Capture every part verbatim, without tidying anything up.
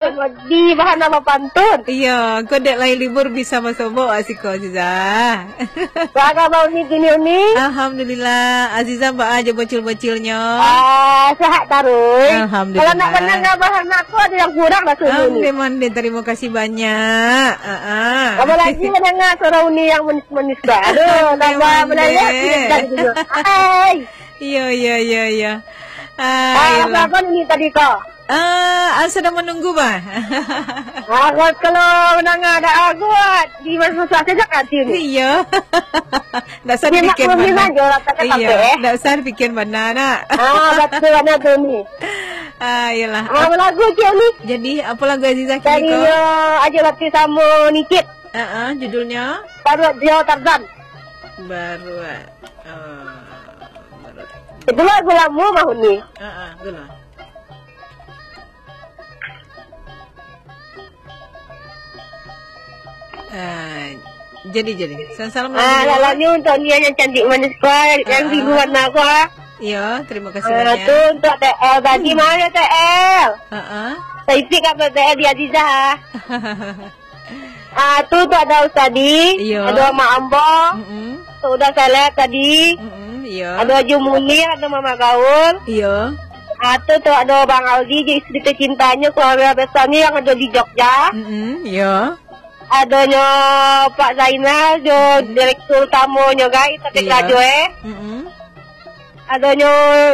Di Bahana bapantun. Iyo, kok dek lai libur bisa basobok wak siko, Azizah. Baa kaba Uni kini, Uni? Alhamdulillah. Azizah baa jo bocil-bocilnyo? Ah, sehat taruih. Alhamdulillah. Kalau nak mandanga Bahana ko, ado yang kurang raso Uni. Ondeh mandeh, tarimo kasih banyak. Ah, ah. Apolai mandanga suaro Uni yang manis-manis ko. Aduh, ondeh tambah mandeh. Hai. Iyo, iyo, iyo, iyo. Ah, ah, iyolah. Apo Uni tadi ko? Ah, ah, sedang menunggu, bah. Ah, kalau, kalau mandanga ado aguat, di masa susah sajo hati ni. Iyo. Ndak usah dipikian bana. Iyo, ndak usah dipikian bana, nak. Ah, batua bana tu ni. Ah, iyolah. Ah, lagu ciek ni. Jadi, apo lagu Azizah kini ko? Dari, ah, Ajo Lati samo Nicit. Ah, ah, judulnyo? Baruak Dio Tarzan. Baruak. Ah, baruak. Itu lagu lamo mah ni. Ah, ah, itulah. Ah, jadi, jadi. Salam-salam. Ah, lagunya. Lagunya untuk Nia yang cantik manis ko, yang, ah, biru warna ko. Iyo, terima kasih banyak. Ah, tu untuk T L tadi, hmm, mana T L? Ah, ah. Saya isi kabar T L di Azizah. Ah, tu, tu ado Ustadi, iyo, ado Mak Ambo, mm-mm, tu udah seleb tadi. Mm-mm, iyo. Ado Haji Munir, ado Mamak Gaul. Iyo. Ah, tu, tu ado Bang Aldi jo isteri tercintanyo, keluarga besarnyo yang ado di Jogja. Mm-mm, iyo. Adonyo Pak Zainal jo, mm-mm, direktur utamonyo, gai, tapi, iyo, karajo, eh. Mm-mm. Adonyo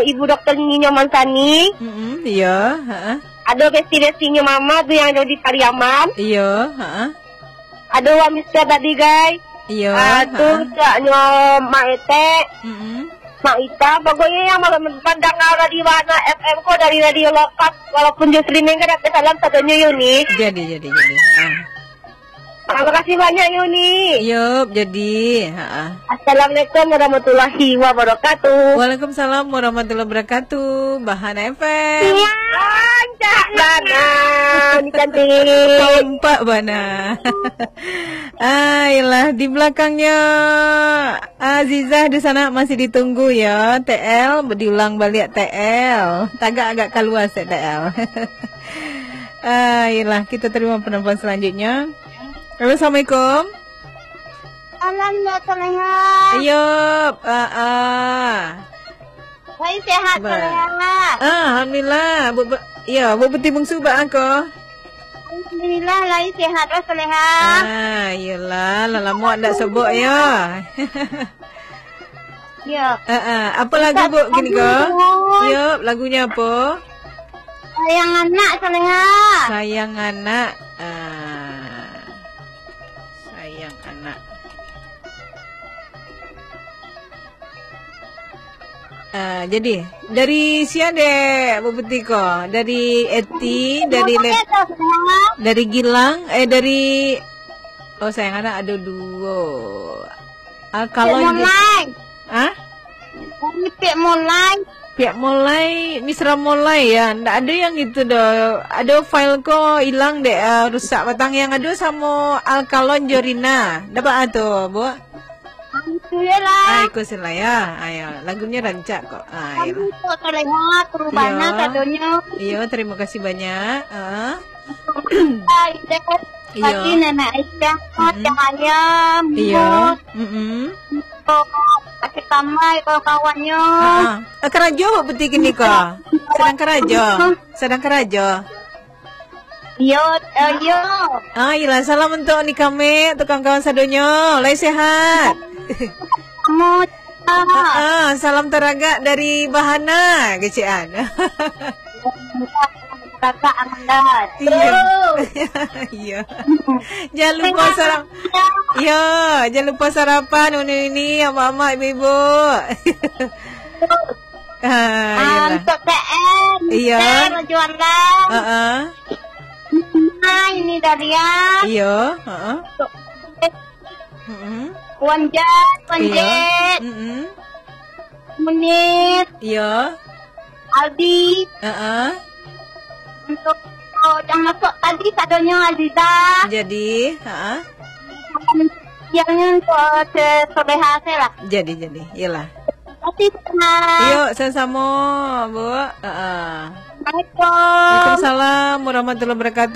Ibu Doktor Ninyo Mansani. Mm-mm, iyo, heeh. Ado besti-bestinyo Mama tu yang ado di Pariaman. Iyo, heeh. Ado Wak Mister tadi, gai. Iyo, ah, tu, heeh, caknyo Mak Etek. Mm-mm. Mak Ita, pokoknyo yang ma-, mandanga Radio Bahana F M ko dari radio lokal, walaupun jo streaming kan, tapi salam sadonyo, Yuni. Jadi, jadi, jadi. Heeh. Ah, makasih banyak, Yuni. Yup, jadi, ha. Assalamualaikum warahmatullahi wabarakatuh. Waalaikumsalam warahmatullahi wabarakatuh. Bahana F M. Iya, rancak bana. Ni cantik. Kompak bana. Ah, iyolah, di belakangnya Azizah di sana masih ditunggu ya, T L, diulang baliak T L. Tagak agak kalua sek T L. Ah, iyolah, kita terima penelpon selanjutnya. Halo, assalamualaikum. Salam, Mbak Soleha. Ayo, ah, ah. Lai sehat, Soleha? Ah, alhamdulillah. Bu, bu, ya, Bu Peti Bungsu, baa ko? Alhamdulillah, lai sehat, Mbak Soleha. Ah, iyolah, lah lamo ndak sobok, yo. Yo. Ah, ah. Apa lagu, Bu, kini ko? Yo, lagunya apa? Sayang Anak, Soleha. Sayang Anak. Ah. Sayang Anak. Ah, jadi, dari sia dek, Bu Peti ko? Dari Eti, dari Le-, dari Gilang, eh, dari, oh, Sayang Anak ado duo. Ah, kalau Cik Molai. Hah? Dari Pik Molai. Pik Molai, Misra Molai ya. Ndak ado yang itu doh. Ado file ko ilang dek, ah, rusak batang. Yang ado samo Alkalon jo Rina. Ndak baa tu, Bu? Itu je lah. Ah, iko sila ya. Ayo, lagunyo rancak kok. Ah, kami iyolah. Kok terlihat perubahannya sadonyo. Iyo, terima kasih banyak. Ah. Hai, Dek. Iyo. Tadi Nenek Aisyah, mm-mm. Cahaya, iyo. Mimo, mm-mm. Kak Tamai, kawan-kawannyo. Ah, ah. Eh, karajo, Bu Peti, kini ko? Sedang karajo. Sedang karajo. Iyo, eh, iyo. Ah, iyolah, salam untuk Uni Kamik, untuk kawan-kawan sadonyo. Lai sehat? Mo, ah. Ah, ah, salam taragak dari Bahana, kecek an. Kakak Amanda. Iyo. Oh. Iyo. Jangan lupa sarap-, iyo, jangan lupa sarapan, Uni-uni, amak-amak, ibu-ibu. Ah, iyolah. Untuk T M, iyo. T M Juanda. Heeh. Nah, ini Dahlia. Iyo, heeh. Untuk Mm-mm. Wan Jet, Wan Jet. Iyo. Mm-mm. Munir. Iyo. Aldi. Heeh. Untuk, oh, yang masuk tadi sadonyo Aziza. Jadi, heeh. Yang untuk se-, Soleha se lah. Jadi, jadi. Iyolah. Terima kasih, Soleha. Iyo, samo-samo, Bu. Heeh. Assalamualaikum. Waalaikumsalam warahmatullahi wabarakatuh.